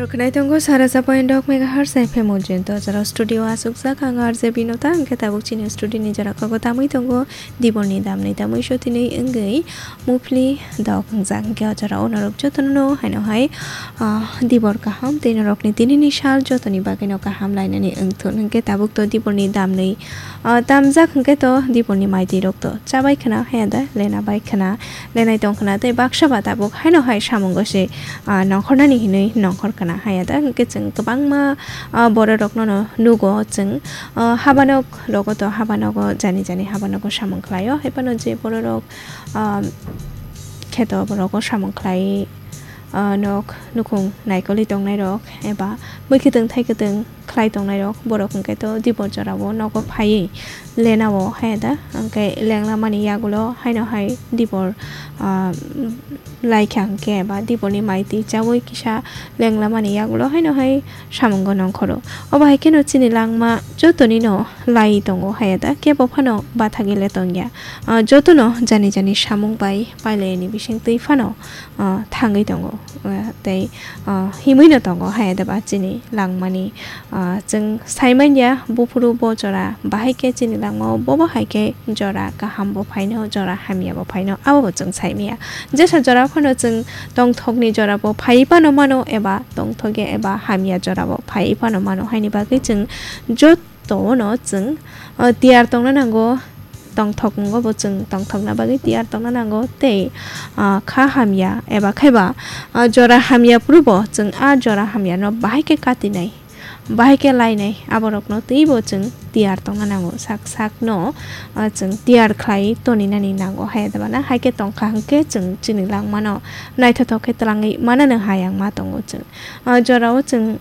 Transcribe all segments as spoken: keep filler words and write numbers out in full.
Khwnai tongo sara chapoi dok megahertz F M ujin to jora studio asukjak ang R J Binota, hwnkhe tabuk chini studio ni jora kogo tamwi tongo Diborni damni tamwi so tini wngwi muphli dok wngjak, hwnkhe o jora o norok jotono haino hai, ah, Dibor kaham tei norokni tinini sal jotoni bagwino kaham lainani wngthun, hwnkhe tabuk to Diborni damni, ah, tamjak, hwnkhe to Diborni maitwi rok to chabai khna haya da lena bai khna. Lenai tong khna tei baksa ba tabuk haino hai samungo se, ah, nongkhornani hinwi nongkhor khna haya da, hwnkhe chwng kwbangma, ah, bororokno no nugo chwng, ah, habanok rogo to habanogo jani jani habanogo samung khlaio, hai phano je bororok, ah, kheto rogo samung khlai, ah, nok nukhung naikolwi tongnairok eba bwkhitwng thaikitwng khlai tongnairok, borok hwnkhe to Dibor jorao nogo phaiwi lenao haya da, hwnkhe lenglamani yagulo haino hai Dibor, ah, laikha hwnkhe eba Diborni maitwi chaui kisa lenglamani yagulo haino hai samungo nongkhoro. Obo hai kheno chini langma jotonino lai tongo haya da, kebo phano bathagwi le tongya. Ah, jotono jani jani samung bai pailaini bisingtwi phano, ah, thangwi tongo, ah, tei, ah, himwi no tongo haya da ba chini langmani. Ah, chwng sai manya buphuru bo jora bahai khe chini langmao bobo hai khe jora kaham bo phaino, jora hamya bo phaino, abo bo chwng sai manya. Jesa jora phano chwng tongthokni jora bo phai phano mano eba tongthokya eba hamya jora bo phai phano mano, haini bagwi chwng joto no chwng, ah, tiyar tongna nango. Tongthok wngo bo chwng tongthokna bagwi tiyar tongna nango tei, ah, kha hamya eba khaiba, ah, jora hamya phuru bo chwng a jora hamya no bahai khe katinai, bahai khe lainai, aborokno twibo chwng tiyar tongna nango, sak sakno, ah, chwng tiyar khlai toninani nango. Hai da bana hai khe tongkha hwnkhe chwng chini langmano naithothok khe twlangwi manano hai ang ma tongo chwng. Ah, jorao chwng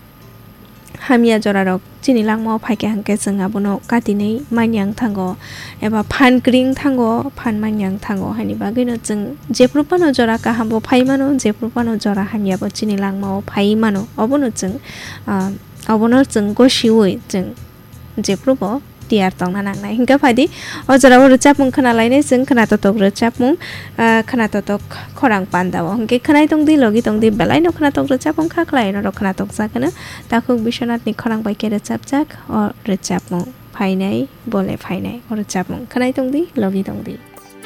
hamya jorarok chini langmao phaikha hwnkhe chwng abono katinwi manya wng thango eba phan kwrwi wng thango, phan manya wng thango, haini bagwino chwng jephru phano jora kaham bo phai mano, jephru phano jora hamya bo chini langmao phai mano, obono chwng, ah, obono chwng gosiui chwng jephru bo tiyar tongna nangnai. Hwnkhe phaidi, o jorao rwchapmung khna lainai chwng, khna totok rwchapmung, ah, khna totok khorang pandao. Hwnkhe khwnai tongdi, logi tongdi, belaino khna tok rwchapmung kha khlai, norok khna tokjak hwno. Takhuk Biswanathni khorang bai khe rwchapjak o rwchapmung. Phainai, bole phainai o rwchapmung. Khwnai tongdi, logi tongdi.